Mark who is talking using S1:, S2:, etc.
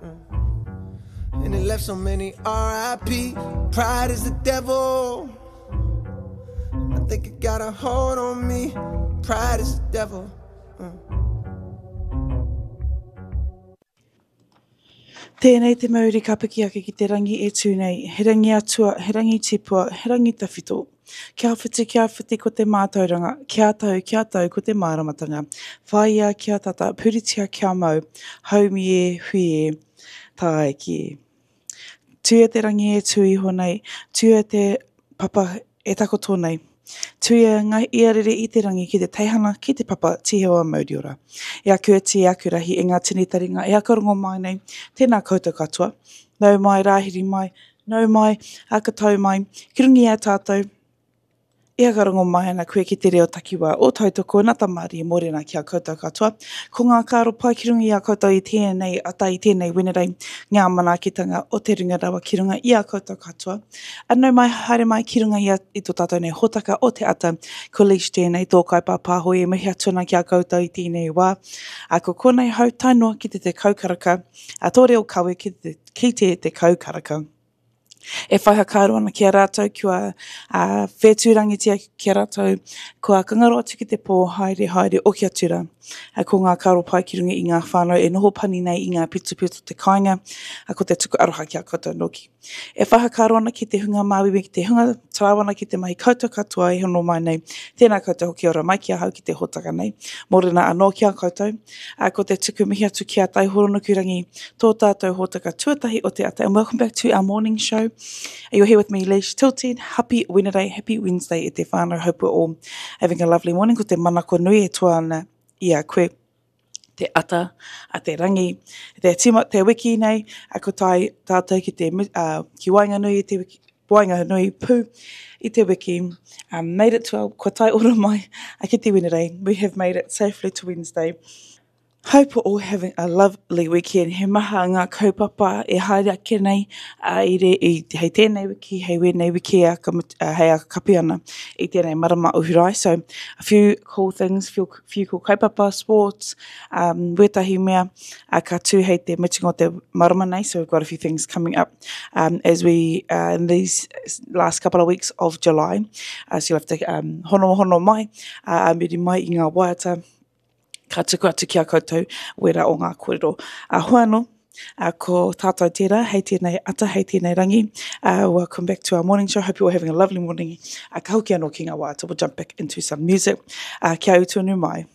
S1: Mm. And it left so many RIP. Pride is the devil. I think it got a hold on me. Pride is the devil. Mm.
S2: Tēnei te mauri ka piki ake ki te rangi e tū nei, he rangi atua, he rangi tipua, he rangi tawhito. Kia whiti, kia whiti ko te mātauranga, kia tau, kia tau ko te māramatanga. Whāia kia tata, puritia kia mau, haumi e, hui e, tāiki e. Tuia te rangi e tū iho nei, tuia te papa e takoto nei. Tuia ngā iarere i te rangi ki te teihana, ki te papa, tīhewa mauriora. E aku iti, e aku rahi, e ngā tini taringa, e aka rongo mai nei, tēnā koutou katoa. Nau mai, rāhiri mai, nau mai, aka tau mai, ki runga i a tātou, E whakarongo mai ana koe ki te reo takiwā o Tautoko na Tamarie Morena ki a koutou katoa. Ko ngā kāro pai ki runga i a koutou i tēnei ata i tēnei Wenerei, ngā manaakitanga o te runga rawa ki runga i a koutou katoa. A nau mai haere mai ki runga i, a, i tō tātou nei hōtaka o te ata. Ko Leash tēnei tō kaipāpāho e mihi atu ana ki a koutou i tēnei wā. A ko konei hau tae noa ki te 10 karaka, a tō reo kawe ki te, ki te 10 karaka. E whai whakaaro ana ki a rātou kua whētūrangitia ki a rātou, kua kangaro atu ki te pō, haere, haere, oki atu rā. Ko ngā karo pai ki runga i ngā whānau e noho pani nei i ngā pitopito te kāinga, ko te tuku aroha ki a koutou nōki. E whai whakaaro ana ki te hunga māuiui, ki te hunga tarāwana ki te mahi koutou katoa e hono mai nei. Tēnā koutou hoki ora mai ki ahau ki te hōtaka nei. Mōrena anō ki a koutou. Ā, ko te tuku mihi atu ki a Taihoronukurangi, tō tātou hōtaka tuatahi o te ata. And welcome back to our morning show. You're here with me, Leish Tilted. Happy Wednesday, happy Wednesday e te whānau. Hope we're all having a lovely morning. Ko te manako nui e toa ana i a koe te ata a te rangi, te tima, te wiki nei, a ko tai tātou ki te, uh, ki waenganui i te wiki, waenganui pū i te wiki. Um, made it to our, kua tae ora mai a ki te Wenerei. We have made it safely to Wednesday. Hope we're all having a lovely weekend. He maha ngā kaupapa e haere ake nei uh, i re, i, hei tēnei wiki, hei wēnei wiki a, ka, uh, hei a kapi ana i tēnei marama o Hurae. So, a few cool things, few, few cool kaupapa, sports, um, wētahi mea uh, ka tū hei te mutunga o te marama nei. So we've got a few things coming up um, as we, uh, in these last couple of weeks of July. Uh, so you'll have to um, hono hono mai, uh, muri mai i ngā waiata, ka tuku atu ki a koutou wera o ngā kōrero. Uh, hoa anō, uh, ko tātou tērā, hei tēnei ata, hei tēnei rangi. Uh, welcome back to our morning show. Hope you're having a lovely morning. Uh, ka hoki anō ki ngā waiata. We'll jump back into some music. Uh, kia utu anu mai.